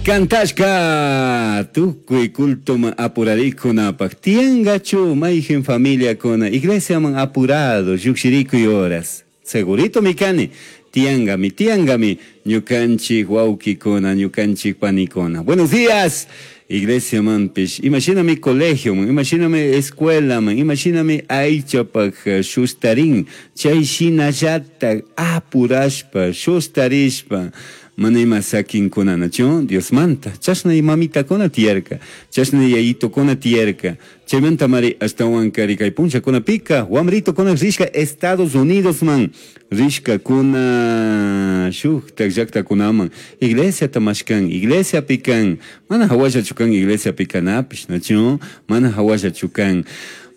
Cantashca tucui cultoman apuraricunapaj tiyangachu mayjin familiacuna iglesiaman apurado llujshiricuy horas? Seguritomi cani, tiyangami, tiyangami ñucanchij huauquicuna, ñucanchij panicuna. Buenos días! Iglesiamanpish, imashinami colegioman, imashinami escuelaman, imashinami aychapaj shustarin, chay shinallataj apurashpa, shustarishpa, mana ima saquincunanachu Diosmanta. Chashna mamitakuna tiyarka, chashna yayitokuna tiyarka. Chaymantamari ashtahuankari kay punllakunapika wamritokuna rishka Estados Unidosman rishkakuna shuktak llaktakunaman iglesiata mashkan, iglesiapi kan, mana hawallachu kan iglesiapi kanapish, nachu? Mana hawallachu kan.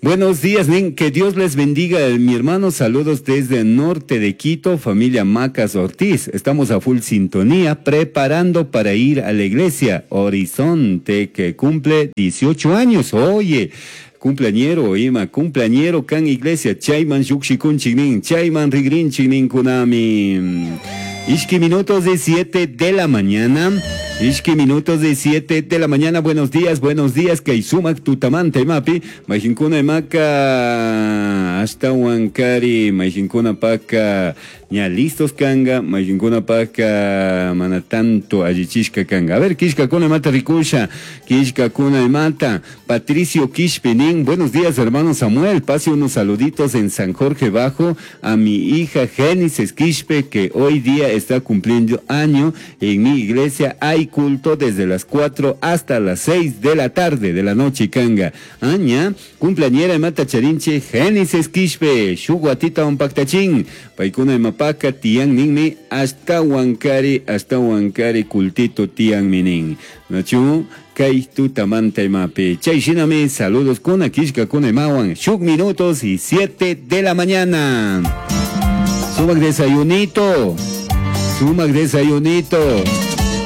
Buenos días, nin, que Dios les bendiga, mi hermano. Saludos desde el norte de Quito, familia Macas Ortiz. Estamos a full sintonía, preparando para ir a la iglesia Horizonte, que cumple 18 años. Oye, cumpleañero, ima, cumpleañero kan iglesia, chayman llukshikunchik nin, chayman rigrinchik ninkunami. Ishki minutos de 7 de la mañana. Ishki minutos de 7 de la mañana. Buenos días, buenos días. Kay sumak tutamanta imapi. Mayjinkuna imaka ashtahuankari. Mayjinkuna paka ña listos kanga. Mayjinkuna paka mana tanto allichishka kanga. A ver, kishkakuna imata rikusha. Kishkakuna imata. Patricio Quishpe nin. Buenos días, hermano Samuel. Pase unos saluditos en San Jorge Bajo a mi hija Génesis Quishpe, que hoy día está cumpliendo año. En mi iglesia hay culto desde las 4 hasta las 6 de la tarde de la noche, kanga. Aña, cumpleañera mata charinche Génesis Quishpe, shuguatita umpaktachin, paikuna imapaka tian ninmi hasta huancari, hasta huancari cultito tian minin. Nachu, kay tutamanta imapi. Chay shinami, saludos kuna kishka kuna imawan. Shuk minutos y 7 de la mañana. Sumak desayunito. Sumak desayunito.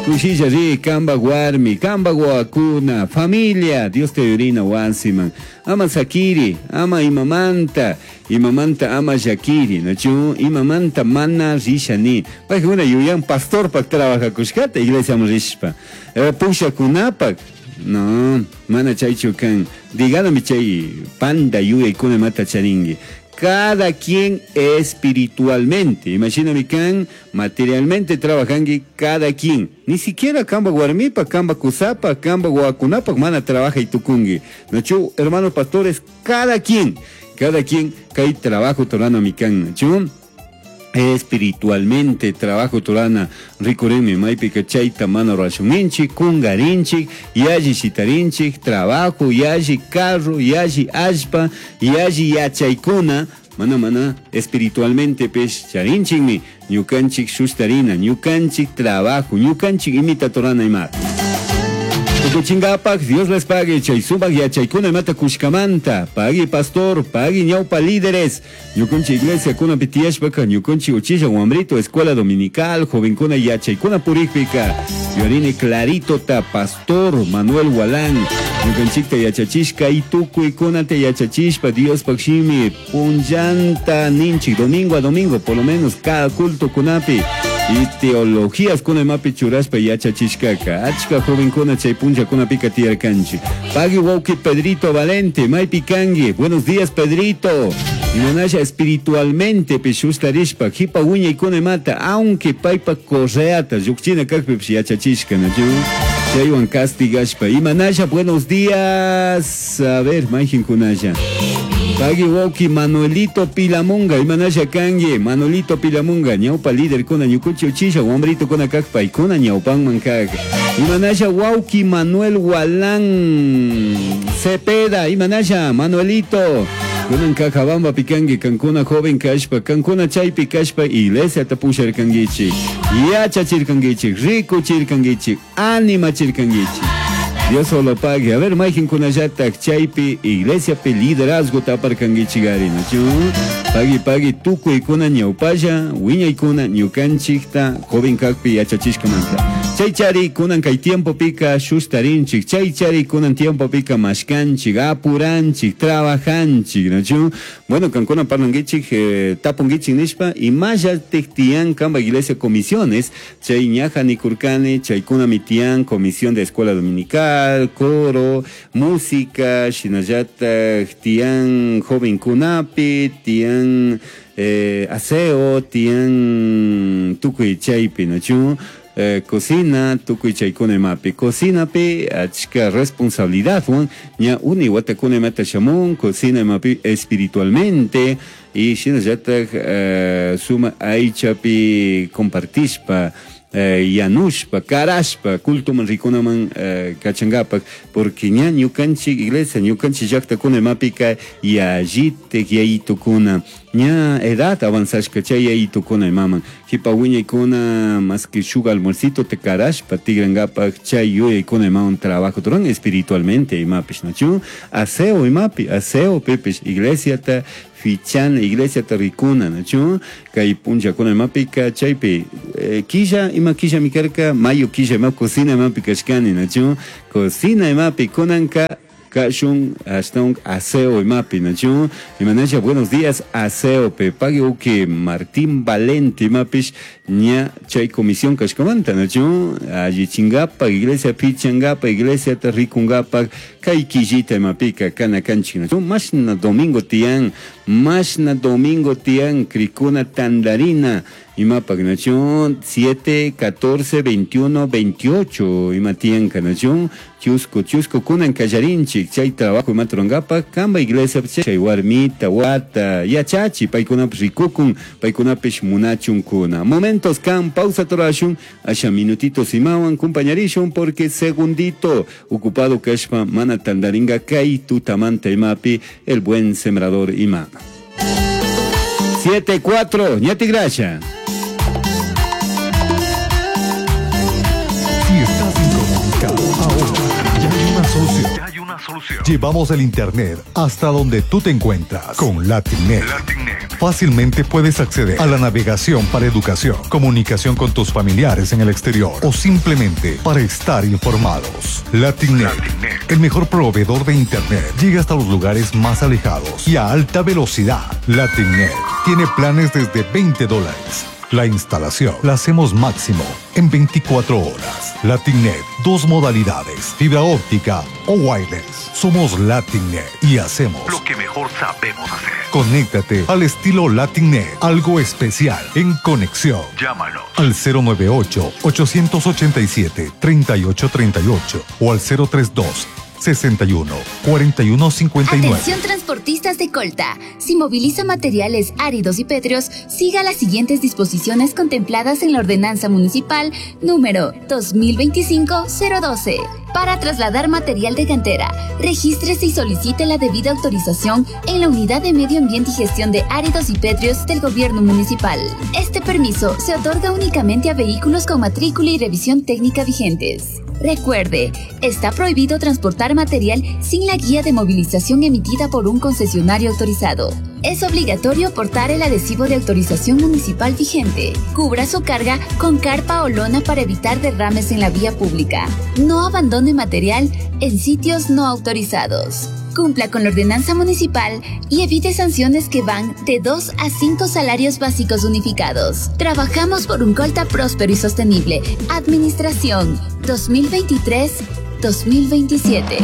Kushilla ri, kamba warmi, kamba guacuna, familia, Dios te orina wasiman. Ama sakiri, ama imamanta, imamanta ama yakiri, nachu, imamanta mana rishani. Paykuna yuyan pastor pak trabaja kushkata, iglesia rishpa. Pushakunapak, no, mana chaychu kan. Dígame chay panda yuyaykuna mata charingi. Cada quien espiritualmente, imagíname kan materialmente trabajangui cada quien. Ni siquiera kamba warmipa, kamba kusapa, kamba guacunapa, mana trabaja y tucungui. Nachu, hermanos pastores, cada quien, cada quien kay trabajo torana mi kan, nachu. Espiritualmente trabajo torana rikurimi maypika chayta mana rurashunninchik, kungarinchik, yalli shitarinchik, trabajo, yalli carro, yalli allpa, yalli yachaykuna, mana mana espiritualmente pes charinchikmi, ñukanchik sushtarina, ñukanchik trabajo, ñukanchik imita torana ima. Tukuchingapak, Dios les pague, chay sumak yachaykuna imata kushkamanta, pagui pastor, pagui ñawpa líderes, ñukanchik iglesia kuna pitiyashpaka, ñukanchik uchilla wambrito, escuela dominical, jovenkuna yachaykuna purikpika, yuyarini clarito ta pastor Manuel Walán, ñukanchikta yachachishka y tukuykunata yachachishpa, Diospak shimi, punllanta ninchik, domingo a domingo, por lo menos cada culto kunapi, y teologías kuna imapi churashpa yachachishkaka, achka jovenkuna chay punlla kuna pika tiyarkanchik. Pagui wauki Pedrito Valente, maypi kangi, buenos días Pedrito. Imanasha espiritualmente pishustarishpa, jipa wiñaykuna imata, aunque paypa correata, llukchina kakpi yachachishka, nachu? Chaywan castigashpa. Imanasha, buenos días. A ver, mayjinkunasha. Pagui wauki Manuelito Pilamunga, imanasha kangi, Manuelito Pilamunga, ñawpa líder kuna ñukuchi uchilla, wambrito kuna kak, paykuna ñawpanman kak. Imanasha wauki Manuel Walán Cepeda, imanasha Manuelito. Kunan Cajabamba pikangi, kankuna joven kashpa, kankuna chaypi kashpa, iglesia tapusharkangichik, yachachirkangichik, rikuchirkangichik, animachirkangichik. Dios solo pague. A ver, mayjinkunallatak chaypi iglesiapi liderazgo taparkangichik ari, nachu? Pagui, pagui, tukuykuna ñawpalla, wiñaykuna ñukanchikta joven kakpi yachachishkamanta. Chaychari kunan kay tiempopika shustarinchik, chaychari kunan tiempopika mashkanchik, apuranchik, trabajanchik, nachu? Bueno, kankuna parlankichik, tapunkichik nishpa, imallatik tiyan kanpa iglesia comisiones, chay ñaja nikurkani, chaykunami tiyan comisión de escuela dominical, coro, música, shinallatak tiyan jovenkunapi, tiyan aseo, tiyan tukuy chaypi, nachu? Cocina, tukuy chaykuna imapi. Cocinapi achka responsabilidadwan, ña uni watakuna imata shamun, cocina imapi espiritualmente, y shinallatak suma aychapi compartishpa, yanushpa, karashpa, cultoman rikunaman kachangapak, porque ña ñukanchik iglesia, ñukanchik llaktakuna imapika yallitik yayitukuna, ña edad avanzashka chay yayitukuna imaman, jipa wiñaykuna más que shuk almuercito te karashpa tigrangapak chay yuyaykuna imaman trabajo turan espiritualmente imapish, nachu? Aseo imapi, aseo pipish, iglesiata fichana, iglesiata rikuna, nachu? Kay punllakuna imapika chaypi, killa, ima killa mi karka, mayo killa ima cocina imapi kashkani, nachu? Cocina imapi kunanka kashun ashtawan aseo imapi, nachu? Imanasha, buenos días, aseo pe pague uki Martín Valente imapish ña chay comisión kashkamanta, nachu? Allichingapa, iglesia pichangapa, iglesia ta rikungapa, kay killita imapika kana kanchik, nachu? Mashna domingo tiyan, mashna domingo tiyan, krikuna tandarina, imapak, nachu? 7, 14, 21, 28, ima tiyan ka, nachu? Chusco, chusco, kunan kallarinchik, chay trabajo imaturangapa, kamba iglesia, chay warmita, wata, yachachi, paykunapish rikukun, paykunapish munachunkuna. Momentos kan, pausa torashun, asha minutitos imawan, compañarishun, porque segundito, ocupado kashpa, mana tandaringa kay tutamanta imapi, el buen sembrador ima. 7, 4, ñati gracia. Si estás incomunicado ahora, ya hay una solución. Ya hay una solución. Llevamos el internet hasta donde tú te encuentras con LatinNet. LatinNet. Fácilmente puedes acceder a la navegación para educación, comunicación con tus familiares en el exterior o simplemente para estar informados. LatinNet, LatinNet. el mejor proveedor de internet, llega hasta los lugares más alejados y a alta velocidad. LatinNet tiene planes desde veinte dólares. La instalación la hacemos máximo en 24 horas. LatinNet, dos modalidades, fibra óptica o wireless. Somos LatinNet y hacemos lo que mejor sabemos hacer. Conéctate al estilo LatinNet, algo especial en conexión. Llámanos al cero nueve ocho, ochocientos ochenta y siete, treinta y ocho treinta y ocho o al cero tres dos, 61, 41, 59. Atención transportistas de Colta. Si moviliza materiales áridos y pétreos, siga las siguientes disposiciones contempladas en la Ordenanza Municipal número 2025-012. Para trasladar material de cantera, regístrese y solicite la debida autorización en la Unidad de Medio Ambiente y Gestión de Áridos y Pétreos del Gobierno Municipal. Este permiso se otorga únicamente a vehículos con matrícula y revisión técnica vigentes. Recuerde, está prohibido transportar material sin la guía de movilización emitida por un concesionario autorizado. Es obligatorio portar el adhesivo de autorización municipal vigente. Cubra su carga con carpa o lona para evitar derrames en la vía pública. No abandone material en sitios no autorizados. Cumpla con la ordenanza municipal y evite sanciones que van de 2 a 5 salarios básicos unificados. Trabajamos por un Colta próspero y sostenible. Administración 2023-2027.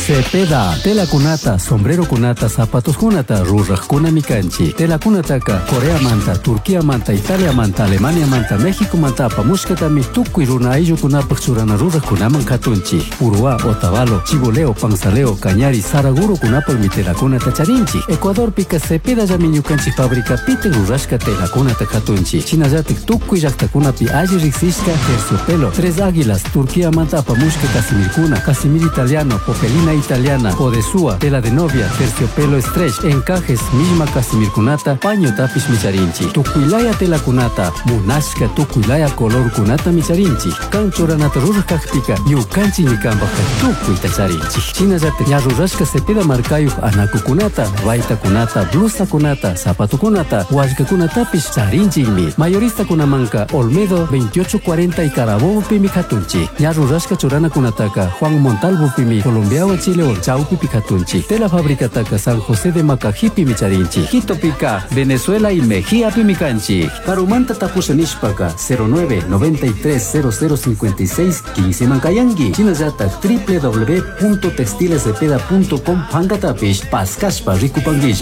Cepeda, tela cunata, sombrero cunata, zapatos cunata, ruraj cuna mikanchi. Tela cunataka, Corea manta, Turquía manta, Italia manta, Alemania manta, México manta, apamushkatami, tukuy runa ayllu kunapaj churana ruraj kunaman katunchi. Uruá, Otavalo, Chiboleo, Panzaleo, Cañari, Saraguro kunapaj mi tela cunata charinchi. Ecuador pika Cepeda llami ñukanchik fábrica pite rurashka tela cunata katunchi. Chinallatik tukuy llaqtakunapi alli riqsishka terciopelo, Tres Águilas, Turquía manta apamushka Casimir cuna, Casimir italiano, Popelina. Gabardina italiana, odesua, tela de novia, terciopelo stretch, encajes, misma casimirkunata, pañotapish micharinchik. Tukuylaya telakunata, munashka tukuylaya colorkunata micharinchik. Kan churanata ruraj kakpika, ñukanchikmi kanpajka tukuyta charinchik. Shinallatak ña rurashka Cepeda markayuq anakukunata, baytakunata, blusakunata, zapatokunata, wallkakunatapish charinchikmi. Mayoristakunamanka Olmedo 2840 y Carabobopimi katunchik. Ña rurashka churanakunataka Juan Montalvopimi Colombiawan Chilewan chawpipi katunchik. Tela fabricataka San José de Macajipimi charinchik. Quitopika Venezuela y Mejíapimi kanchik. Karumanta tapusha nishpaka 09 93 0056 15 mankayanki. Shinallatak www.textilescepeda.com pankatapish paskashpa rikupanguilla.